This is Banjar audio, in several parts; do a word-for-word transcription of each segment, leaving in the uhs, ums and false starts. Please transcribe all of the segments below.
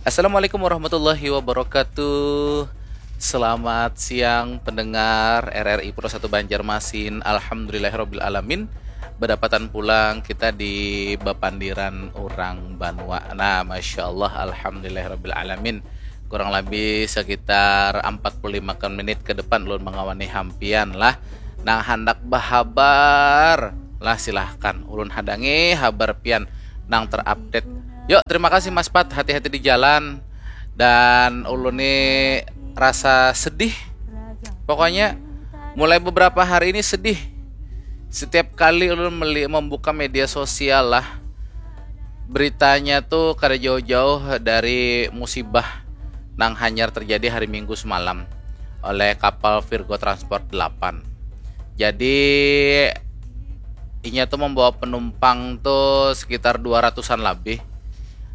Assalamualaikum warahmatullahi wabarakatuh. Selamat siang pendengar R R I Pro satu Banjarmasin. Alhamdulillahirabbil alamin. Bedapatan pulang kita di bapandiran urang banua. Nah, masya Allah, alhamdulillahirabbil alamin. Kurang lebih sekitar empat puluh lima menit ke depan ulun mengawani hampian lah. Nang handak bahabar lah, silahkan. Ulun hadangi habar pian nang terupdate. Yuk, terima kasih Mas Pat, hati-hati di jalan. Dan ulun ni rasa sedih. Pokoknya mulai beberapa hari ini sedih. Setiap kali ulun meli membuka media sosial lah, beritanya tuh kada jauh-jauh dari musibah nang hanyar terjadi hari Minggu semalam oleh kapal Virgo Transport delapan. Jadi inya tuh membawa penumpang tuh sekitar dua ratusan lebih.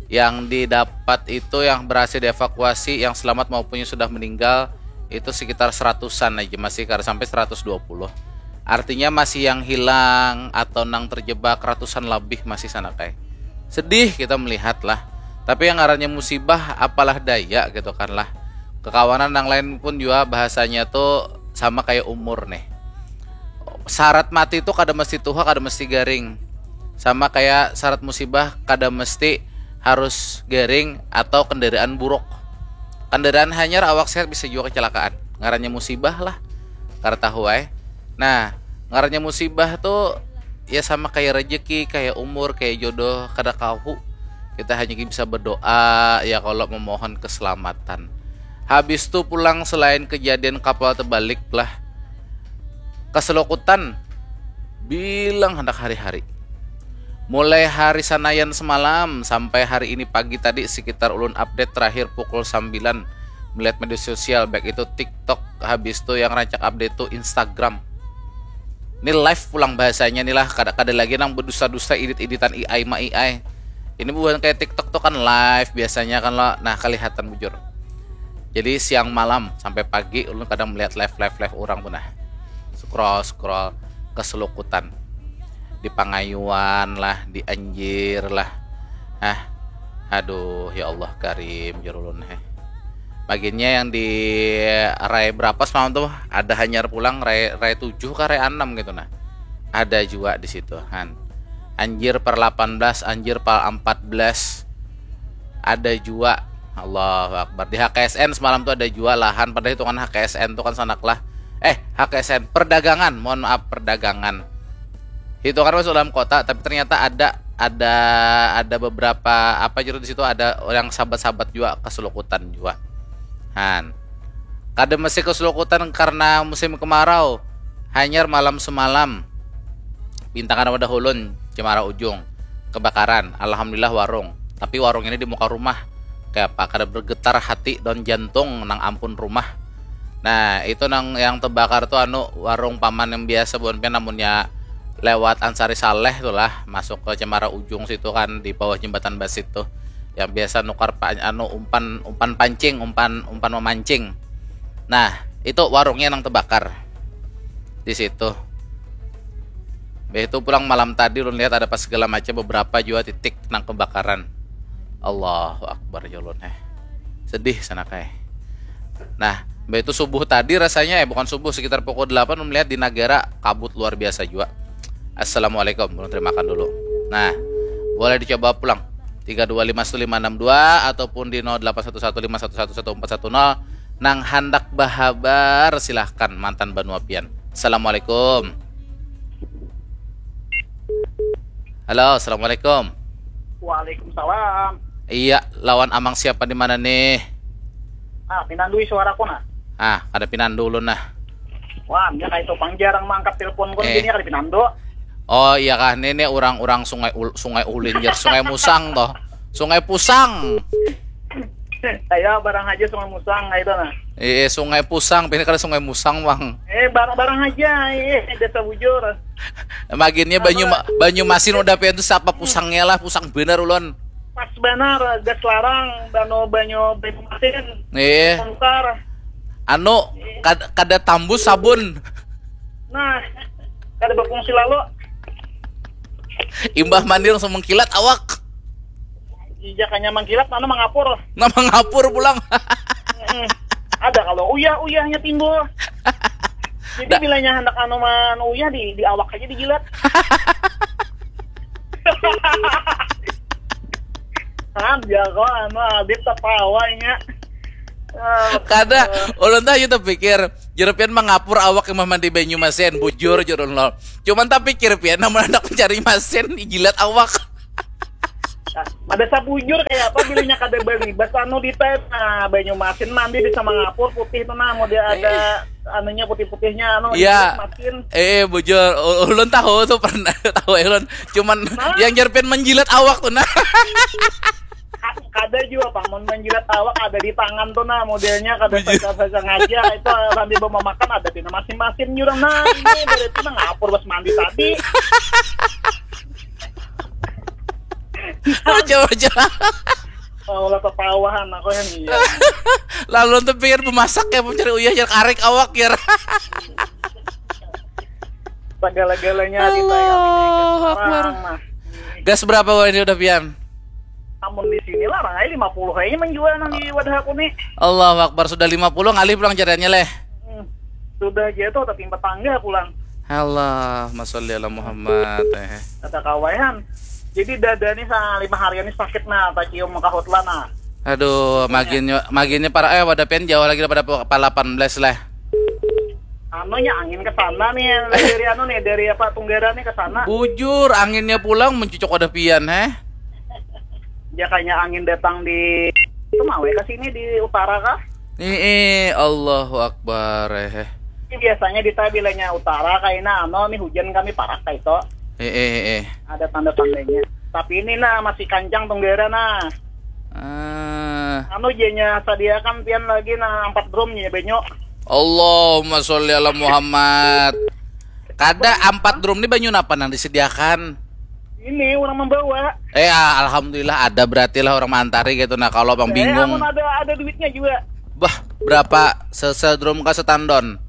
Yang didapat itu, yang berhasil dievakuasi, yang selamat maupun yang sudah meninggal, itu sekitar seratusan aja, masih kada sampai seratus dua puluh. Artinya masih yang hilang atau nang terjebak ratusan lebih masih sana kai. Sedih kita melihat lah. Tapi yang ngarannya musibah, apalah daya gitu kan lah. Kekawanan yang lain pun juga bahasanya tuh sama kayak umur nih. Syarat mati tuh kada mesti tuha, kada mesti garing. Sama kayak syarat musibah, kada mesti harus garing atau kendaraan buruk. Kendaraan hanyar, awak sehat, bisa juga kecelakaan. Ngarannya musibah lah. Kada tahu ai. Nah, ngarannya musibah tuh ya sama kayak rezeki, kayak umur, kayak jodoh, kada kahu. Kita hanya bisa berdoa ya kalau memohon keselamatan. Habis tu pulang, selain kejadian kapal terbalik lah, keselukutan bilang hendak hari-hari. Mulai hari Sanayan semalam sampai hari ini pagi tadi, sekitar ulun update terakhir pukul sembilan, melihat media sosial, baik itu TikTok, habis tu yang rancak update tu Instagram. Ini live pulang bahasanya nih lah, kada kada lagi nang berdusta-dusta, edit-editan A I ma A I. Ini bukan kayak TikTok tuh kan live biasanya kan lo, nah kelihatan bujur. Jadi siang malam sampai pagi ulun kadang melihat live live live orang tuh nah, scroll scroll keselukutan, di Pangayuan lah, di Anjir lah. Ah, aduh, ya Allah karim, jar ulun heh. Baginnya yang di rai berapa semalam tuh, ada hanyar pulang, rai rai tujuh kah, rai enam gitu nah. Ada juga di situ kan. Anjir per delapan belas, anjir per empat belas. Ada juga. Allahu Akbar. Di H K S N semalam tuh ada juga lahan, padahal hitungan H K S N tuh kan sanak lah. Eh, H K S N, perdagangan, mohon maaf, perdagangan. Hitungan masuk dalam kota, tapi ternyata ada ada ada beberapa apa, juru di situ ada orang sahabat-sahabat juga keselukutan juga. Han. Kada mesti keselukutan karena musim kemarau. Hanyar malam semalam. Bintang ada hulun, Cemara Ujung. Kebakaran. Alhamdulillah warung. Tapi warung ini di muka rumah. Kayak apa? Kada bergetar hati dan jantung nang ampun rumah. Nah, itu nang yang terbakar tuh anu, warung paman yang biasa buan pian, namunnya lewat Ansari Saleh tuh lah, masuk ke Cemara Ujung situ kan, di bawah jembatan Basit tuh. Yang biasa nukar pa, anu, umpan umpan pancing, umpan umpan memancing. Nah, itu warungnya nang terbakar di situ. Beh itu pulang malam tadi ulun lihat ada pas segala macam beberapa juga titik nang kebakaran. Allahu Akbar, ya ulun eh. Sedih sana kayak. Nah, beh itu subuh tadi rasanya, eh bukan subuh, sekitar pukul delapan ulun melihat di Nagara kabut luar biasa juga. Assalamualaikum, ulun terimakan dulu. Nah, boleh dicoba pulang. Tiga dua lima satu lima enam dua ataupun di nol delapan satu satu lima satu satu satu empat satu nol. Nang handak bahabar, silahkan, mantan banua pian. Assalamualaikum. Halo, assalamualaikum. Waalaikumsalam. Iya, lawan amang siapa di mana nih? Ah, pinandui suaraku nah. Ah, kada pinandu ulun nah. Wah, dia kayak itu pang jarang mangkat telepon pun Eh. Gini kada pinandu. Oh iya kah, ini, ini orang-orang Sungai Ul- Sungai Ulin, jar, Sungai Musang toh. Sungai Pusang. Ayo barang aja Sungai Musang kayak itu nah. Eh, Sungai Pusang, ini kada Sungai Musang, Bang. Eh, barang-barang aja, eh, desa bujur. Maginnya Banyu Apa? Banyu Masin udah pian tuh, siapa pusangnya lah, pusang bener ulun. Pas benar, gas larang, banyu banyu banyu masin. Eh, Bongkar. Anu, kad- kada tambus sabun. Nah, kada berfungsi lalu. Imbah mandi langsung mengkilat awak. Ijakanya mangkilat, mana mangapur. Nah, mangapur pulang. Mm-mm. Ada kalau uyah-uyahnya timbul. Jadi bilanya hendak anu man uyah di, di awak aja dijilat. Kan jago anu Adit tertawanya. Ah, kada, ulun tuh aja terpikir, jero pian mangapur awak yang mandi banyu masin, bujur jero lo. Cuman tapi pikir pian namun anak mencari masin dijilat awak. Ada sabujur kayak apa bilinya kada balibas anu di teh, nah, banyu masin mandi bisa mangapur putih tuh nah, mau dia ada anunya putih-putihnya anu Iya. Masin. Eh, bujur, ulun tahu tuh pernah tahu ulun. Cuman nah. Yang jerpen menjilat awak tuh nah. Kada juga paman menjilat awak ada di tangan tuh nah modelnya kada bisa sengaja itu sambil mau makan ada di masing-masing jurang nah ini dari itu nah ngapur pas mandi tadi. Aja aja. Kalau ketawahan aku yang iya. Lalu tuh pikir memasak ya mencari uyah ya karek awak ya. Segala-galanya di saya Akbar. Gas berapa wah ini udah pian? Namun di sini lah, rangai lima puluh aja menjual nang di wadah aku nih. Allahu Akbar, sudah lima puluh ngalih pulang cariannya leh. Hmm. Sudah aja tuh tapi tangga pulang. Allah, masalli ala Muhammad. Eh. Kata kawayan. Jadi dada nih sa lima hari ini sakit nah, tak cium kahut lah nah. Aduh, maginnya maginnya para eh wadah pian jauh lagi daripada palapan belas lah. Anunya angin ke sana nih dari anu nih dari apa Tunggara nih ke sana. Bujur anginnya pulang mencucuk wadah pian heh. Ya kayaknya angin datang di itu mau ke sini di utara kah? Ih, Allahu Akbar eh. Ini biasanya di bilanya utara kaina anu nih hujan kami parak kayak itu. Eh eh eh. Ada tanda-tandanya. Tapi ini nah masih kancang Tunggara nah. Ah. Anu jenya sadiakan pian lagi nah empat drum nya banyu. Allahumma sholli ala Muhammad. Kada empat drum ni banyu napa nang disediakan? Ini orang membawa. Eh alhamdulillah ada berarti lah orang mantari gitu nah kalau bang bingung. Eh, ada ada duitnya juga. Bah berapa sesedrum ke setandon?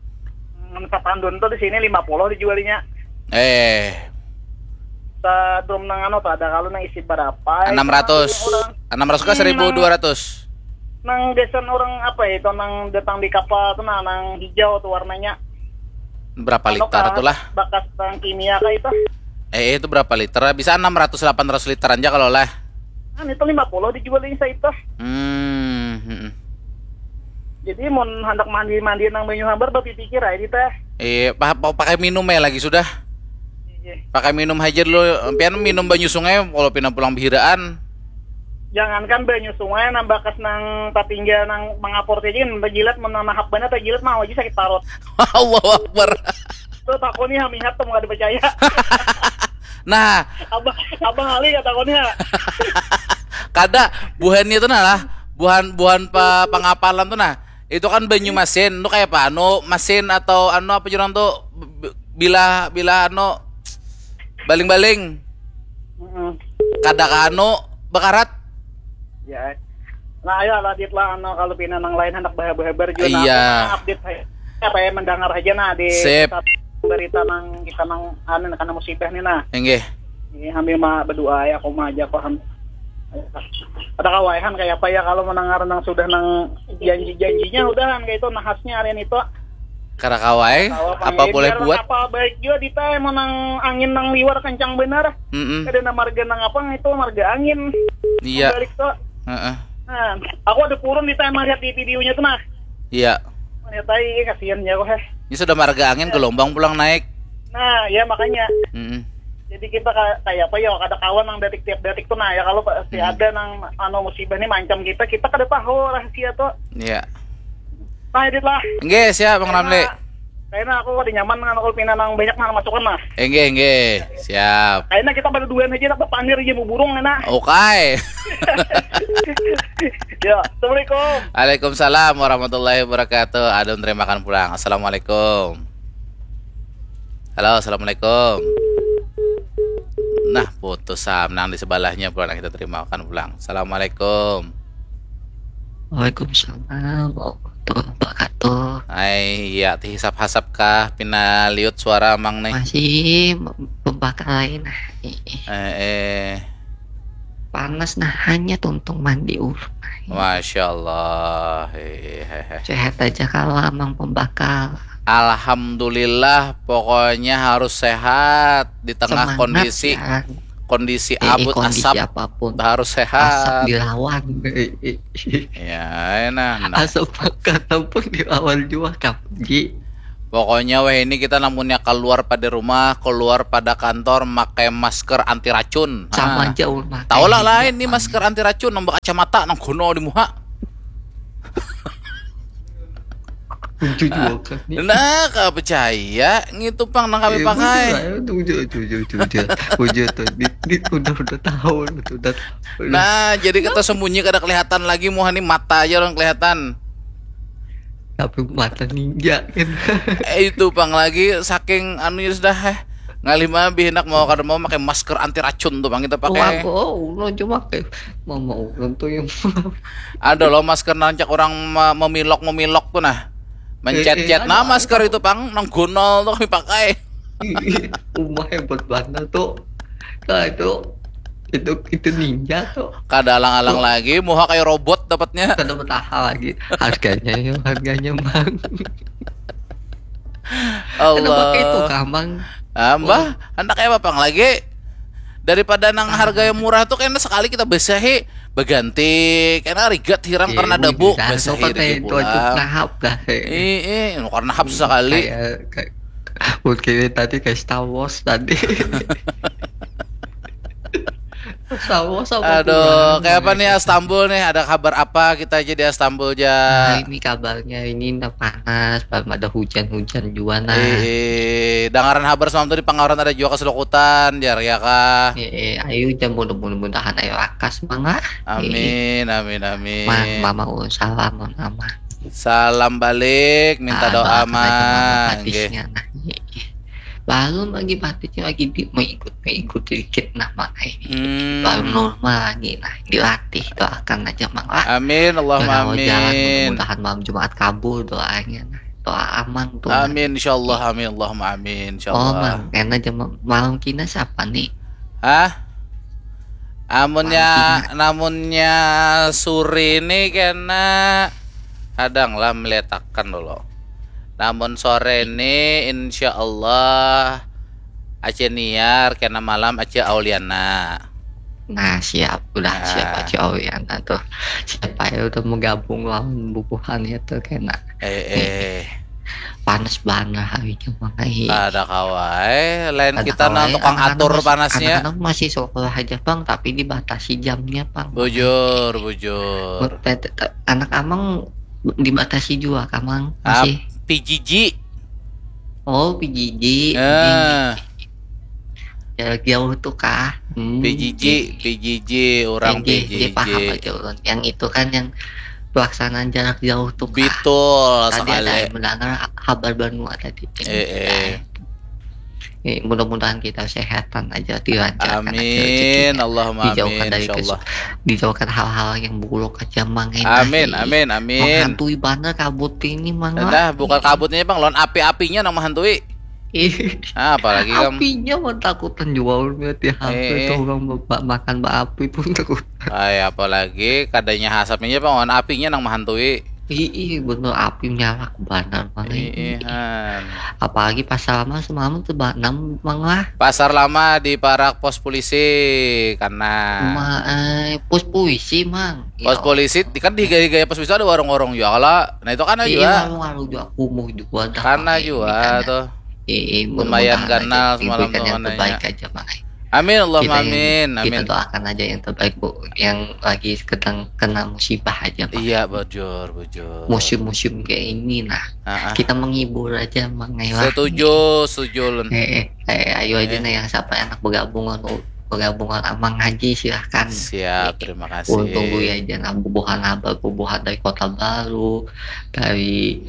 Hmm, setandon tuh di sini lima puluh dijualnya. Eh. Setandon nang anu tuh ada kalau nang isi berapa? Enam ratus. Enam ratus ke seribu dua ratus. Nang gasan orang apa ya itu nang datang di kapal tuh nah nang hijau tuh warnanya. Berapa liter tuh lah? Bakas nang kimia kah itu? Eh itu berapa liter? Bisa enam ratus delapan ratus liter aja kalau lah. Kan itu lima puluh dijual ini itu. Hmm. hmm. Jadi mau hendak mandi mandi nang banyu hambar berpikir aja teh. Eh, pakai minum ya lagi sudah. Iya. Pakai minum aja dulu. Pian minum banyu sungai kalau pina pulang bihiraan. Jangankan banyu sungai nang bakas nang tatinggal nang mangapur saja menjilat menanahap banget tajilat mau aja sakit parut. Allahu Akbar. Tuh takoni hamihat tuh mau ada percaya. Nah, abah abah Ali kata koni kada buhannya tuh nah lah buhan buhan pe, pengapalan tuh nah itu kan banyu masin tuh kayak apa anu masin atau anu apa jurang tuh bila bila anu baling-baling Mm-mm. kada ka anu bekarat Ya. Nah, ayo lah Dit lah anu kalau pina nang lain hendak bahabar-habar juga nah, Iya. Aku update aja. Apa ya mendengar aja nah di Sip. Berita nang kita nang anu karena musibah nih nah. Inggih. Ini sambil mah berdoa ya aku mah aja paham. Ada kawaihan kayak apa ya kalau mendengar nang sudah nang janji-janjinya udahan kayak itu nahasnya hari itu. Kada kawai, apa boleh buat? Apa baik juga di teh menang angin nang liwar kencang benar. Mm-mm. Kada nang marga nang apa itu marga angin. Iya. Balik tuh. Heeh. Nah, aku ada purun di teh melihat di videonya tuh nah. Iya. Melihat tai kasihan ya kok heh. Ini sudah marga angin gelombang pulang naik. Nah, ya makanya. Mm-mm. Jadi kita ka- kayak apa ya ada kawan yang detik tiap detik tuh nah ya kalau pasti Hmm. ada nang anu musibah nih mancam kita kita kada tahu rahasia tuh. Iya. Nah, Dit lah. Nggih, siap Bang Ramli. Kayaknya aku kada nyaman dengan aku pina nang banyak nang masukan lah. Nggih, nggih. Siap. Kayaknya kita pada duaan aja tak berpandir aja mau burung enak. Oke. Ya, assalamualaikum. Waalaikumsalam warahmatullahi wabarakatuh. Adun terimakan pulang. Assalamualaikum. Halo, assalamualaikum. Nah, putus sam nang di sebelahnya pulang kita terimakan pulang. Assalamualaikum. Waalaikumsalam warahmatullahi wabarakatuh. Hai, iya ti hisap-hasap kah pina liut suara amang nih. Masih mem- membakai nah. Eh, eh. Panas nah, hanya tuntung mandi ulun. Masya Allah. Hehehe. Sehat aja kalau amang pembakal. Alhamdulillah, pokoknya harus sehat di tengah Semangat kondisi ya. kondisi Eh, abut kondisi asap apapun. Harus Asap sehat. Dilawan. Eh, eh. Ya, nah, nah. Asap pakat pun dilawan juga, Kak Ji. Pokoknya weh, ini kita namunnya keluar pada rumah, keluar pada kantor, pakai masker anti racun. Sama Ah. Aja ulun makai. Tahu lah lain Iya, nih Bang. Masker anti racun, nang kacamata, nang gono di muha. Lucu juga kan nih. Nah, kau percaya ngitu pang nang kami Eh, pakai. Bujur, bujur, bujur, bujur, bujur, bujur. Bujur tuh, di, di, udah udah tahu, udah, udah. Nah, jadi kita sembunyi kada kelihatan lagi, muha nih mata aja orang kelihatan. Tapi mata ninja kan. Eh, itu pang lagi saking anunya sudah eh ngalih mah bihinak mau kada mau pakai masker anti racun tuh pang kita pakai. Wah, oh, ulun cuma kayak mama ulun tuh yang Ada loh masker nancak orang ma- memilok memilok tuh nah. Mencet-cet Eh, eh, nah ada, masker itu pang nang gunol tuh kami pakai. Ih, rumah hebat banget tuh. Nah, itu itu itu ninja tuh. Kada alang-alang Tuh. Lagi, muha kayak robot dapatnya. Kada bertahan lagi. Harganya ya, harganya bang. Kenapa Allah. Kayak itu kamang? Ah, mbah, hendak apa pang lagi? Daripada nang harga yang murah tuh kena sekali kita besahi, berganti, kena rigat hiram karena Iya, debu, dah, besahi sobat, lagi eh, itu aja pulang. Nahap dah. Eh. Ih, ih, karena hap sekali. Kayak kayak mungkin tadi kayak Star Wars tadi. Star Wars apa tuh, Aduh, Bang? kayak apa nih Istanbul nih? Ada kabar apa kita aja di Istanbul Nah, ja? Ini kabarnya ini udah panas, belum ada hujan-hujan juga nah. Eh, eh, dangaran habar semalam tuh di Pangawaran ada juga keselukutan, jar ya kah? Eh, eh, ayo jam mudah-mudahan ayo akas mang lah. Amin, amin, amin. Mang, mama ulun salam, mama. Salam balik, minta Ah, doa doakan aja mama mang. hadisnya nah. Eh, eh. Lalu lagi batisnya lagi di mengikut mengikut dikit nah mang. Eh, Hmm. Baru normal lagi nah, dilatih, doakan aja mang lah. Amin, Allahumma Jalan-jalan, amin. Mudah-mudahan malam Jumat kabul doanya nah. Doa amang tuh. Amin, insyaallah, amin, Allahumma amin, Oh, insyaallah. mang, kena aja ma- malam kina siapa nih? Hah? Amunnya, namunnya sore ini kena kadang lah meletakan dulu. Namun sore ini insyaallah Aceh Niar, kena malam Aceh Auliana. Nah, siap, udah Nah. Siap aja Auliana tuh. Siapa ya udah mau gabung lawan bubuhan itu kena. Eh, eh. Panas banget harinya mang ai. Ada kawa, eh. Lain Ada kita kawa, nang eh, tukang anak-anak atur masih- panasnya. Anak-anak masih sekolah aja bang, tapi dibatasi jamnya bang. Bujur, bujur. Te- te- te- Anak amang dibatasi juga kamang Ah, masih. P J J. Oh, P J J. Eh, Jarak jauh tuh kah? Hmm. P J J, P J J, orang P J J, P J J. Paham aja ulun. Yang itu kan yang pelaksanaan jarak jauh tuh kah? Betul Tadi ada sekali. Yang mendengar kabar banua tadi. Eh, eh. Eh, mudah-mudahan kita sehatan aja, dilancarkan aja Amin, rezekinya. Allahumma Dijauhkan amin, dari insyaallah. Dijauhkan hal-hal yang buruk aja mang. Amin, amin, amin. Menghantui banget kabut ini mang. Dah, bukan kabutnya bang, lawan api-apinya nang menghantui. Ih, Ah, apalagi kam. Apinya mah takutan juga ulun lihat di H P Eh. Tuh orang ba- makan baapi pun takut. Ay, apalagi kadanya asapnya bang, lawan apinya nang menghantui. Ih, ih, bener api nyalak banar mang. Ih, han. Apalagi pasar lama semalam tuh ba- nam mang lah. Pasar lama di parak pos polisi karena Ma, eh, pos polisi mang. Pos Ya. Polisi di- kan di gaya-gaya pos polisi ada warung-warung juga lah. Nah itu kan Iya, juga warung-warung juga kumuh juga dah karena pakai juga ini kan. Tuh. Eh, eh, Lumayan mudah-mudahan ganal aja semalam diberikan tuh yang mananya. Terbaik aja mang. Amin, Allahumma Kita yang- amin, Kita amin. Doakan aja yang terbaik bu, yang lagi sedang kena musibah aja mang. Iya, bujur, bujur. Musim-musim kayak ini nah, Ah, ah. Kita menghibur aja mang. Ayolah. Setuju, setuju ulun. Eh, eh, eh, ayo aja Eh. Nah, yang siapa anak bergabungan bergabungan amang haji silahkan. Siap, Eh, terima Ulun tunggu kasih. Ya aja nah bubuhan habar bubuhan dari Kota Baru, dari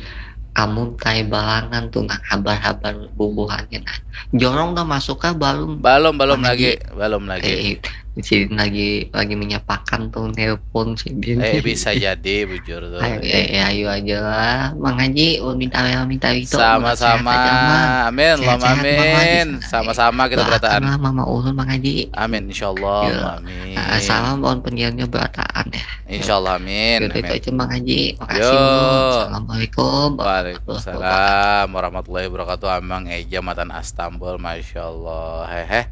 Amuntai Balangan tuh nah habar-habar bubuhannya nah. Jorong udah masuk kah belum? Belum, belum Mang lagi, Haji. Belum lagi. Eh, Sidin lagi lagi menyapakan tuh, nelpon sidin. Eh, bisa jadi bujur tuh. Ayo, eh, eh, ayo aja lah, Mang Haji. Ulun minta, minta itu. Sehat aja, Sama-sama. Mang. Amin, Allahumma Sehat-sehat, Mang Haji. amin. Sama-sama kita Doakan berataan. Lah Mama Ulun, Mang Haji. Amin, insyaallah. Ya. Amin. Ah, salam buat penyiarnya berataan ya. Insyaallah, amin. Yaudah, itu Amin. Aja, Mang Haji. Makasih. Yo. Ulun. Assalamualaikum. Waalaikumsalam warahmatullahi wabarakatuh. Amang Eja matan Astambul, masyaallah. Hehe.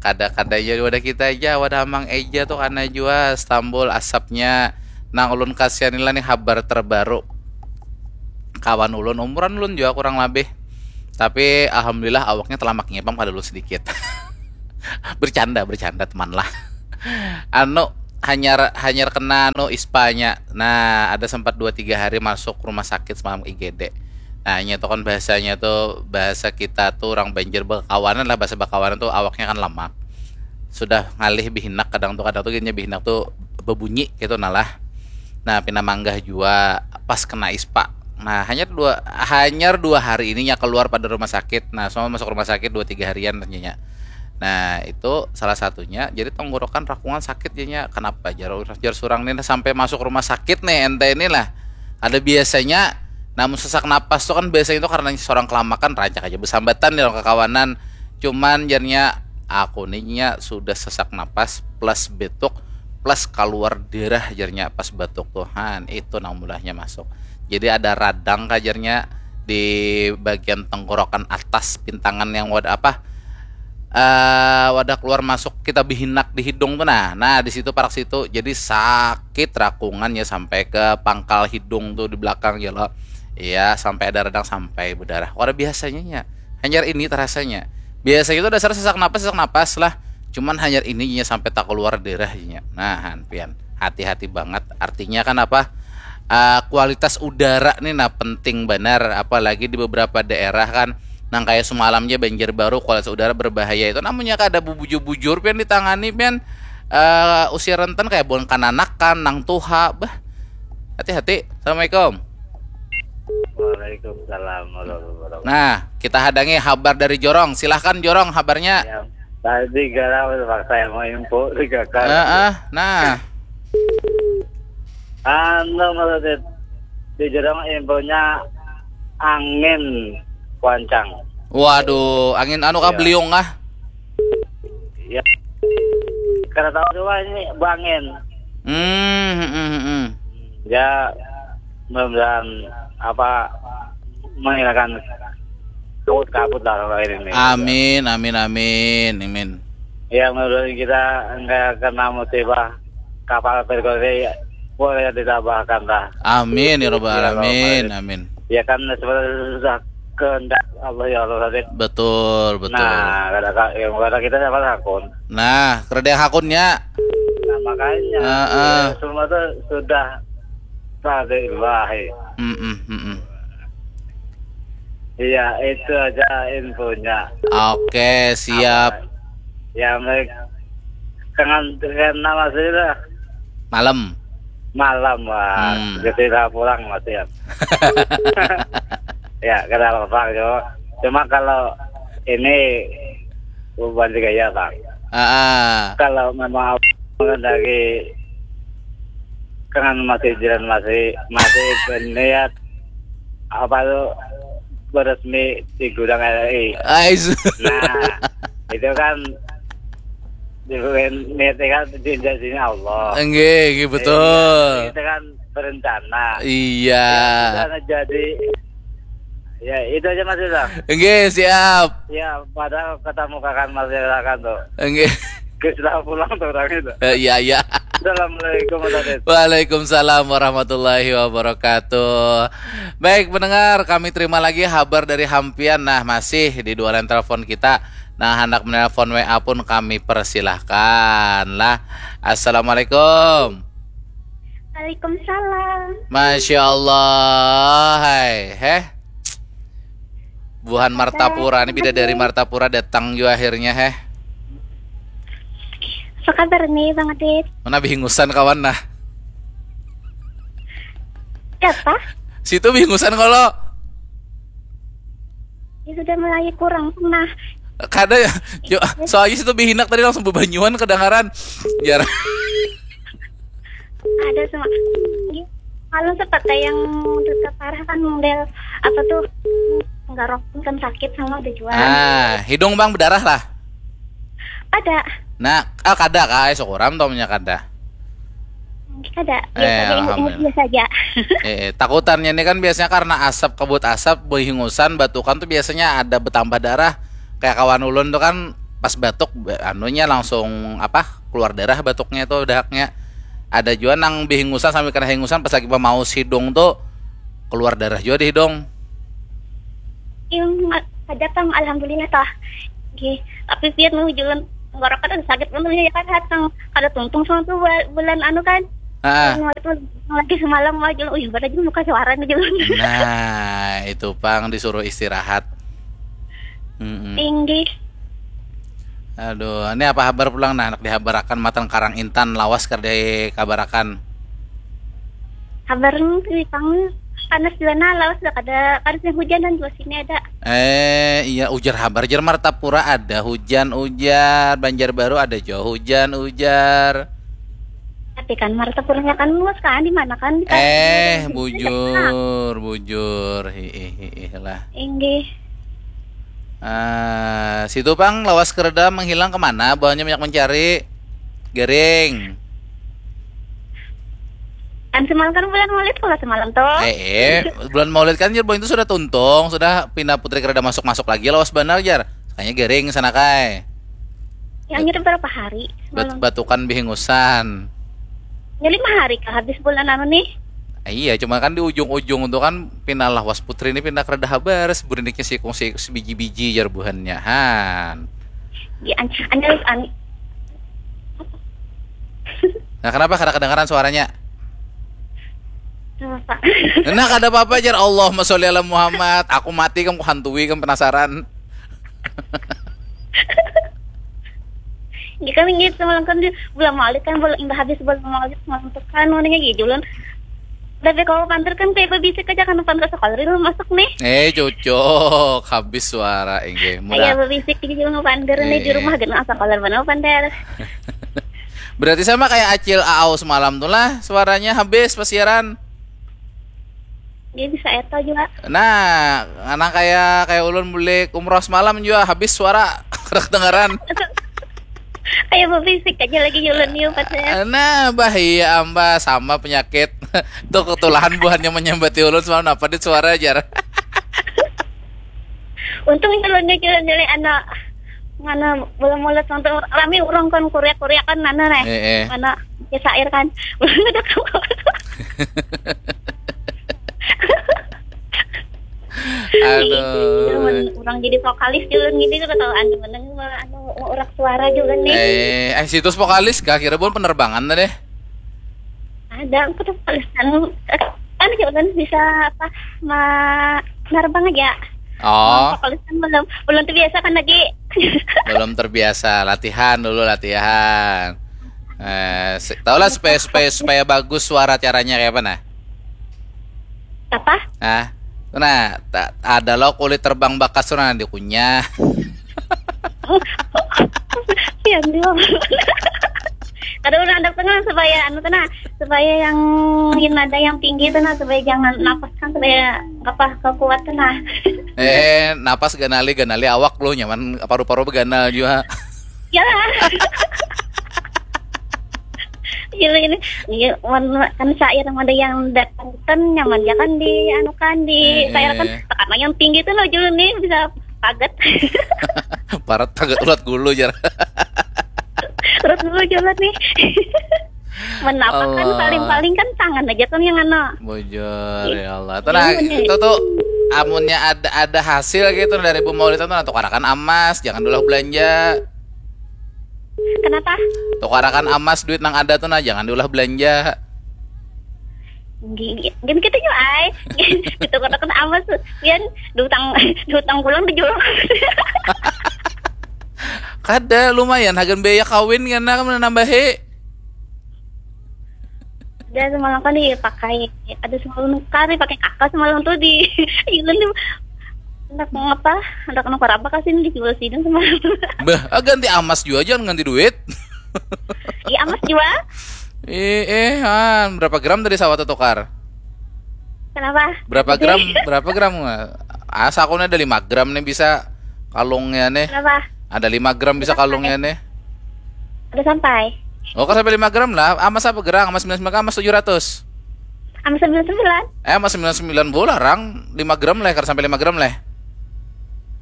Kada-kada aja wadah kita aja, wadah Amang Eja tuh karena jua Astambul asapnya. Nang ulun kasihan lah nih, habar terbaru. Kawan ulun, umuran ulun juga kurang lebih. Tapi alhamdulillah awaknya telamaknya pang pada ulun sedikit. Bercanda, bercanda teman lah. Anu, hanyar hanyar kena anu ispanya. Nah, ada sempat dua tiga hari masuk rumah sakit semalam I G D. Nah, nya tuh kan bahasanya tuh, bahasa kita tuh orang Banjar bakawanan lah, bahasa bakawanan tuh awaknya kan lamak. Sudah ngalih bihinak, kadang tuh, kadang tuh gini bihinak tuh bebunyi gitu nah lah. Nah, pina manggah jua pas kena ispa. Nah, hanyar dua hanyar dua hari ini nya keluar pada rumah sakit. Nah, semua masuk rumah sakit dua tiga harian ternyata. Nah, itu salah satunya. Jadi tenggorokan rakungan sakit jadinya. Kenapa jar jar surang nih sampai masuk rumah sakit nih ente inilah. Ada biasanya namun sesak napas tuh kan biasanya itu karena seorang kelamakan, rancak aja bersambatan nih orang kekawanan. Cuman jarnya aku nih nya sudah sesak napas plus betuk plus keluar darah jarnya pas batuk tuh. Han, itu nang mulahnya masuk. Jadi ada radang kajarnya di bagian tenggorokan atas, pintangan yang wadah apa, eh, wadah keluar masuk kita bihinak di hidung tuh. Nah, nah, di situ parak situ. Jadi sakit rakungan ya sampai ke pangkal hidung tuh di belakang ya lo. Iya, sampai ada radang sampai berdarah. Ora biasanya ya. Hanyar ini terasanya. Biasanya itu dasar sesak napas, sesak napas lah. Cuman hanyar ini nya sampai tak keluar darah nya. Nah, han, pian, hati-hati banget. Artinya kan apa? Eh, kualitas udara nih nah penting benar, apalagi di beberapa daerah kan nang kayak semalamnya Banjarbaru, kualitas udara berbahaya itu. Namanya kada bubujur-bujur pian ditangani pian, eh, usia rentan kayak bukan kananakan, nang tuha. Bah, hati-hati. Assalamualaikum. Waalaikumsalam warahmatullahi wabarakatuh. Nah, kita hadangi habar dari Jorong. Silahkan Jorong, habarnya. Ya, tadi gara terpaksa yang mau info tiga kali. Heeh, nah. Anu, maksudnya di Jorong infonya angin kencang. Waduh, angin anu kah, Iya. Beliung kah? Ya, karena tahu juga ini bangin. Hmm, hmm, hmm, hmm. Ya, mudah-mudahan apa menghilangkan kabut-kabut lah kalau ini. Amin, amin, amin, amin. Ya, mudah-mudahan kita nggak kena musibah kapal tergore, boleh ditabahkan lah. Amin ya rabbal Ya, alamin. Rabbal. Amin. Ya kan sebenarnya sudah kehendak Allah, ya Allah tadi. Betul, betul. Nah, kada ka- ya, kada kita siapa hakun. Nah, kereda hakunnya. Nah, makanya Heeh. ya, semua tuh sudah pada ilahi. Mm-mm, mm-mm. Iya, itu aja infonya. Oke, siap. Ya, baik. Dengan dengan nama sudah Malam. malam, wah, Hmm. kita pulang, Mas, ya. Ya, kada apa-apa, cuma, cuma kalau ini bukan gaya, Bang. Ah, ah. Kalau memang menghendaki, kan masih jalan, masih masih berniat apa tuh, beresmi di gudang R R I. Ais. Nah, itu kan di niatnya kan di janjinya Allah. Enggak, enggak betul. Itu kan berencana. Iya. Karena jadi, ya, itu aja, Mas Rizal. Enggak, siap. Ya, padahal ketemu kakak Mas Rizal kan tuh. Enggak. Sudah pulang tuh orang itu. Eh, iya, iya. Assalamualaikum, Mas Adit. Waalaikumsalam warahmatullahi wabarakatuh. Baik, pendengar, kami terima lagi habar dari Hampian. Nah, masih di dua line telepon kita. Nah, hendak menelpon W A pun kami persilahkan lah. Assalamualaikum. Waalaikumsalam. Masya Allah, hai, heh. Buhan Martapura, ini bidadari Martapura datang juga akhirnya, heh. Apa kabar nih, Bang Adit? Mana bihingusan kawan nah. Siapa? Situ bihingusan kalau. Ya sudah mulai kurang nah. Kada ya. Yo, soalnya situ bihinak tadi langsung bebanyuan kedengaran. Jar. Ada sama. Kalau sepatah yang terparah kan model apa tuh, tenggorok kan sakit sama tujuan. Ah, hidung bang berdarah lah. Ada. Nah, ah, kada kah? Ai, syukuram tau punya kada. Ada. Eh, alhamdulillah. Biasa aja. Eh, eh, takutannya ini kan biasanya karena asap, kabut asap, berhingusan, batukan tuh biasanya ada bertambah darah. Kayak kawan ulun tuh kan pas batuk, ba- anunya langsung apa? Keluar darah batuknya tuh dahaknya. Ada juga nang berhingusan sambil kena hingusan pas lagi memaus hidung tuh keluar darah juga di hidung. Yang ada tang, alhamdulillah tah. Gih, tapi biar nu jualan tenggorok kan sakit pun ya kan, hatang kada tuntung sama tuh bua- bulan anu kan. Ah, Yang waktu lagi semalam mah jualan, uy, pada juga muka suara nih jualan. Nah, itu pang disuruh istirahat. Mm-mm. Tinggi. Aduh, ini apa habar pulang nah, anak dihabarakan matan Karang Intan lawas kada dikabarakan. Kabar nih pang panas juga nah, lawas dah kada kada sih hujan dan juga sini ada. Eh, iya, ujar habar, jar Martapura ada hujan, ujar Banjarbaru ada jua hujan, ujar. Tapi kan Martapuranya kan luas kan, di mana kan? Di Eh, Karang. Bujur, bujur, hiih, hiih lah. Inggih. Ah, situ pang lawas kereda menghilang kemana? Buhannya banyak mencari. Garing. Kan semalam kan bulan Maulid kalau semalam tuh. Eh, eh, bulan Maulid kan jar buhan itu sudah tuntung, sudah pina putri kereda masuk-masuk lagi lawas banar jar. Kayaknya garing sana kai. Yang ngirim berapa hari Bat- semalam? batukan bihingusan. Ya lima hari kah habis bulan anu nih? Eh, iya, cuma kan di ujung-ujung tuh kan pina lawas putri ini pina kereda habar, seburinnya sikung si sebiji-biji jar buhannya. Han. Ya an an an Nah, kenapa kada kedengaran suaranya? Apa? Nah, kada apa-apa jar. Allahumma sholli ala Muhammad. Aku mati kan, ku hantui kan, penasaran. Ya kan gitu semalam kan di bulan Maulid kan, bulan imbah habis bulan Maulid semalam tuh kan warnanya gitu loh. Tapi kalau panter kan kayak bebisik aja kan, panter sekolah itu masuk nih. Eh, cocok. Habis suara, inggih. Kayak Mudah. bebisik gitu loh, panter nih di Eh. Rumah, gak asal kolor mana panter. Berarti sama kayak Acil Aau semalam tuh lah, suaranya habis pas siaran. Dia bisa eta juga. Nah, anak kayak kayak ulun bulik umroh semalam juga habis suara. Kada kedengaran. Kayak bebisik aja lagi jualan nih obat saya. Nah, bahaya amba sama penyakit. Tuh ketulahan buhannya menyambati ulun semalam, apa dit suara jar. Untung itu loh, jualan dari anak mana, belum mulut, untuk rame orang kan, kuriak-kuriak kan, mana nih? Eh, eh. Mana ya, sair kan. Belum ada kabar. Aduh. Orang jadi vokalis juga gitu, ketahuan menang anu, orang suara juga nih. Eh, eh, situs vokalis kah kira buhan penerbangan tadi? Ada, aku tuh vokalis kan, eh, kan juga kan bisa apa, ma- nerbang aja. Oh, Vokalis kan belum, belum terbiasa kan lagi. Belum terbiasa, latihan dulu, latihan. Eh, se- tahulah supaya supaya supaya bagus suara, caranya kayak apa nah? Apa? Nah, nah, ta- ada lo kulit terbang bakas tuh nah, dikunyah. Ya, belum. Kada, udah ada tengah supaya anu tuh nah, supaya yang, yang ada yang tinggi tuh nah, supaya jangan napas kan, supaya apa, kekuat tuh nah. Eh, napas ganali, ganali awak lo, nyaman paru-paru beganal juga. Ya. Gila ini. Iya, wan- kan syair yang ada yang datang kan nyaman ya kan di anu kan, di Eh, syair kan, eh. Karena yang tinggi tuh lo jualan nih bisa kaget. Parat kaget ulat gulu jar. Terus dulu jualan nih. Menapakan Allah. Paling-paling kan tangan aja tuh yang anu. Bujur, ya Allah. Iya, Tenang, bener. Itu tuh amunnya ada ada hasil gitu dari Bu Maulid tuh, nah, tukarakan amas, jangan diulah belanja. Kenapa? Tukarakan amas, duit nang ada tuh nah, jangan diulah belanja. Gini, gini kita juga ay. Kita katakan amas tuh. Pian diutang, diutang pulang tujuh. Kada, lumayan hagan biaya kawin kan, nah, kan nambahi. Ada semalam kan dipakai, ada semalam kari pakai kakak semalam tuh di Yunan tuh. Anak ngapa? Anak nukar apa kasih di jual sini sama? Bah, ah, ganti amas jua, jangan ganti duit. Iya, amas jual. Eh, eh, han, berapa gram tadi sawat tukar? Kenapa? Berapa gram? Berapa gram? Asa aku nih ada lima gram nih bisa kalungnya nih. Kenapa? Ada lima gram bisa kalungnya nih. Udah sampai. Oh, kau sampai lima gram lah. Amas apa gerang? Amas sembilan sembilan, amas tujuh ratus. Amas sembilan sembilan. Eh, amas sembilan sembilan bola rang lima gram lah, kar sampai lima gram lah.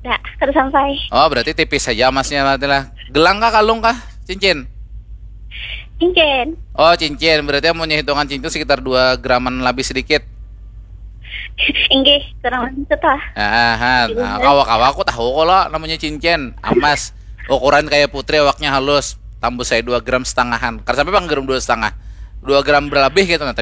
Dah, kada sampai. Oh, berarti tipis saja amasnya berarti lah. Gelang kah, kalung kah? Cincin. Cincin. Oh, cincin. Berarti amunnya hitungan cincin sekitar dua graman lebih sedikit. Inggih, kurang lebih itu lah. Ah, han. Nah, kawa-kawa aku tahu kalau namanya cincin, amas. Ukuran kayak putri, awaknya halus. Tambus saya dua gram setengahan. Kar sampai pang gram dua setengah. Dua gram berlebih gitu nah, tapi